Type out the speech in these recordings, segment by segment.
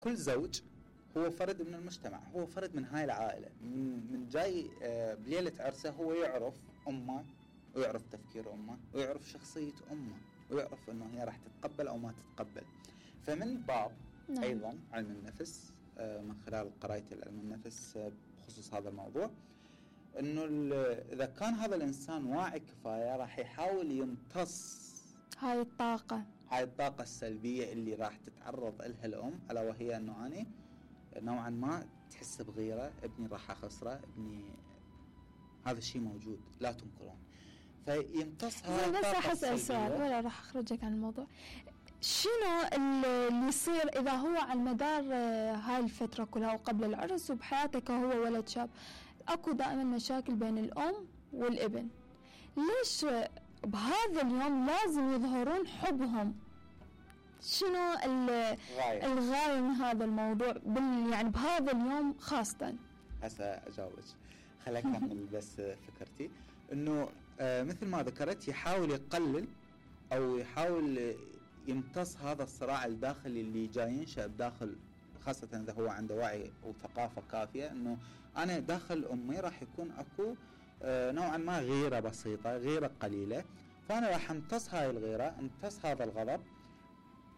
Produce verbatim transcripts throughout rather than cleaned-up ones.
كل زوج هو فرد من المجتمع، هو فرد من هاي العائلة، من, من جاي بليلة عرسه هو يعرف أمه ويعرف تفكير أمه ويعرف شخصية أمه ويعرف أنه هي راح تتقبل أو ما تتقبل. فمن باب نعم. أيضا علم النفس من خلال قراءتي علم النفس بخصوص هذا الموضوع، أنه إذا كان هذا الإنسان واعي كفاية راح يحاول يمتص هاي الطاقة هاي الطاقة السلبية اللي راح تتعرض لها الأم، ألا وهي أنه أنا نوعا ما تحس بغيرة، ابني راح أخسره، ابني هذا الشيء موجود لا تنكرون. فيمتص هاي الطاقة بس راح أسأل سؤال ولا راح أخرجك عن الموضوع. شنو اللي يصير إذا هو على مدار هاي الفترة كلها وقبل العرس وبحياتك هو ولد شاب أكو دائما مشاكل بين الأم والابن، ليش بهذا اليوم لازم يظهرون حبهم؟ شنو الغاية من هذا الموضوع بال يعني بهذا اليوم خاصة؟ هسه أجاوبك، خليك أكمل بس فكرتي. إنه آه مثل ما ذكرت يحاول يقلل أو يحاول يمتص هذا الصراع الداخلي اللي جاي ينشأ بداخل، خاصة إذا هو عنده وعي وثقافة كافية، إنه أنا داخل أمي راح يكون أكو آه نوعا ما غيرة بسيطة، غيرة قليلة، فأنا راح امتص هاي الغيرة، امتص هذا الغضب،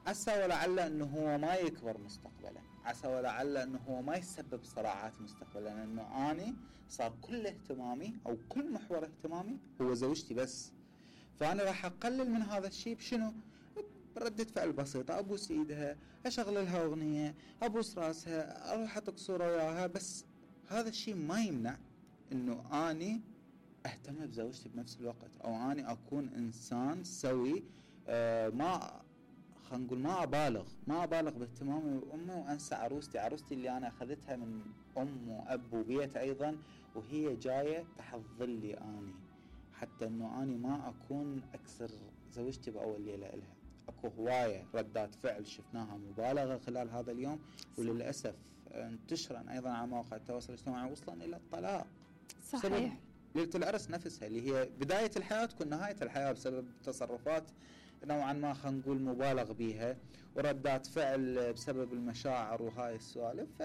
عسى ولعل أنه هو ما يكبر مستقبلا، عسى ولعل أنه هو ما يسبب صراعات مستقبلا، لأنه أنا صار كل اهتمامي أو كل محور اهتمامي هو زوجتي بس. فأنا راح أقلل من هذا الشيء بشنو؟ بردة فعل بسيطة، أبوس إيدها، أشغل لها أغنية، أبوس راسها، أروح أطق صورة وياها. بس هذا الشيء ما يمنع أنه أنا أهتم بزوجتي بنفس الوقت، أو أنا أكون إنسان سوي، آه ما خلينا نقول ما أبالغ ما أبالغ باهتمامي بأمي وأنسى عروستي عروستي اللي أنا أخذتها من أم وأب وبيت أيضا، وهي جاية تحت ظلي أني، حتى أنه أنا ما أكون أكسر زوجتي بأول ليلة إلها. أكو هواية ردات فعل شفناها مبالغة خلال هذا اليوم، وللأسف انتشرا أيضا على مواقع التواصل الاجتماعي وصلا إلى الطلاق. صحيح. ليلة العرس نفسها اللي هي بداية الحياة تكون نهاية الحياة بسبب تصرفات نوعا ما خلينا نقول مبالغ بيها وردات فعل بسبب المشاعر وهاي السوالف. ف...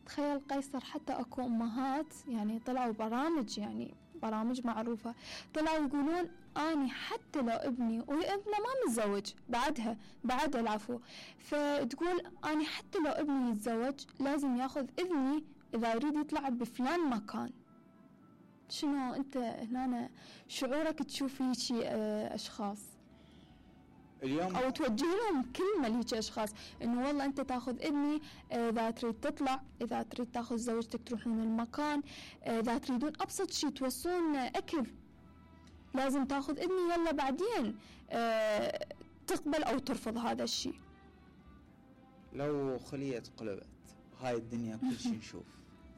تخيل قيصر، حتى أكو أمهات يعني طلعوا برامج يعني برامج معروفة طلعوا يقولون أني حتى لو ابني وابنه ما متزوج بعدها بعد العفو، فتقول أني حتى لو ابني يتزوج لازم ياخذ إذني إذا يريد يطلع بفلان مكان. شنو أنت هنا شعورك تشوف هيك أشخاص اليوم أو توجه لهم كلمة لهيك أشخاص إنه والله أنت تأخذ إذني إذا تريد تطلع، إذا تريد تأخذ زوجتك تروحون المكان، إذا تريدون أبسط شيء توصلون أكل لازم تأخذ إذني، يلا بعدين أه تقبل أو ترفض هذا الشيء. لو خلية قلبت هاي الدنيا كل شيء نشوف،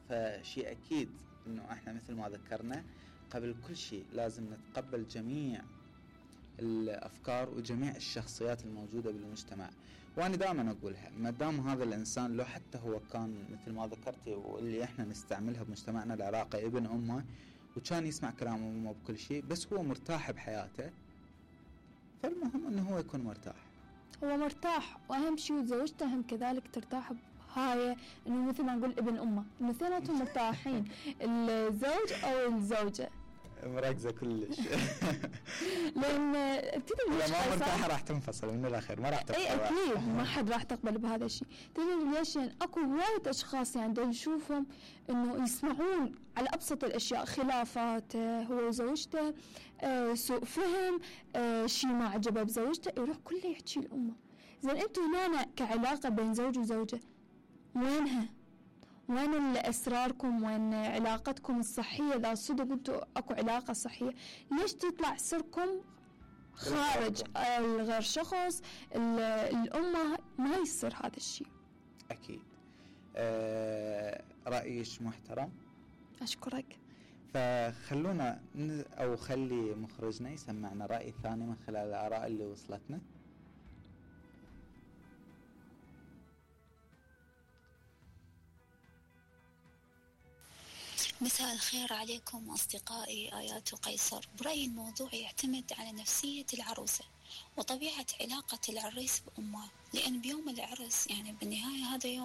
فشيء أكيد إنه إحنا مثل ما ذكرنا قبل كل شيء لازم نتقبل جميع الأفكار وجميع الشخصيات الموجودة بالمجتمع. وأنا دائما أقولها، ما دام هذا الإنسان لو حتى هو كان مثل ما ذكرتي واللي إحنا نستعملها بمجتمعنا العراقي ابن أمه وكان يسمع كلام أمه بكل شيء، بس هو مرتاح بحياته، فالمهم أنه هو يكون مرتاح، هو مرتاح، وأهم شيء وزوجته هم كذلك ترتاح هاي، إنه مثل ما نقول ابن أمه إنه اثنيناتهم مرتاحين الزوج أو الزوجة مركزة كلش. لأن تدري ليش ما مرتاحة راح تنفصل من الأخير، ما راح تقبل. أي أكيد ما حد راح تقبل بهذا الشيء. تدري ليش؟ يعني أكو وايد أشخاص يعني دول نشوفهم إنه يسمعون على أبسط الأشياء، خلافات هو وزوجته، آه سوء فهم، آه شيء ما عجبه بزوجته، يروح كله يحكي الأمة. زين أنتوا هنا كعلاقة بين زوج وزوجة وينها؟ وين أسراركم؟ وين علاقتكم الصحية؟ إذا صدق أنتوا أكو علاقة صحية، ليش تطلع سركم خارج الغير شخص الأمة؟ ما يصير هذا الشيء. أكيد. أه رأيش محترم، أشكرك. فخلونا أو خلي مخرجنا يسمعنا رأي ثاني من خلال الآراء اللي وصلتنا. مساء الخير عليكم أصدقائي آيات وقيصر. برأيي الموضوع يعتمد على نفسية العروسة وطبيعة علاقة العريس بأمه، لأن بيوم العرس يعني بالنهاية هذا يوم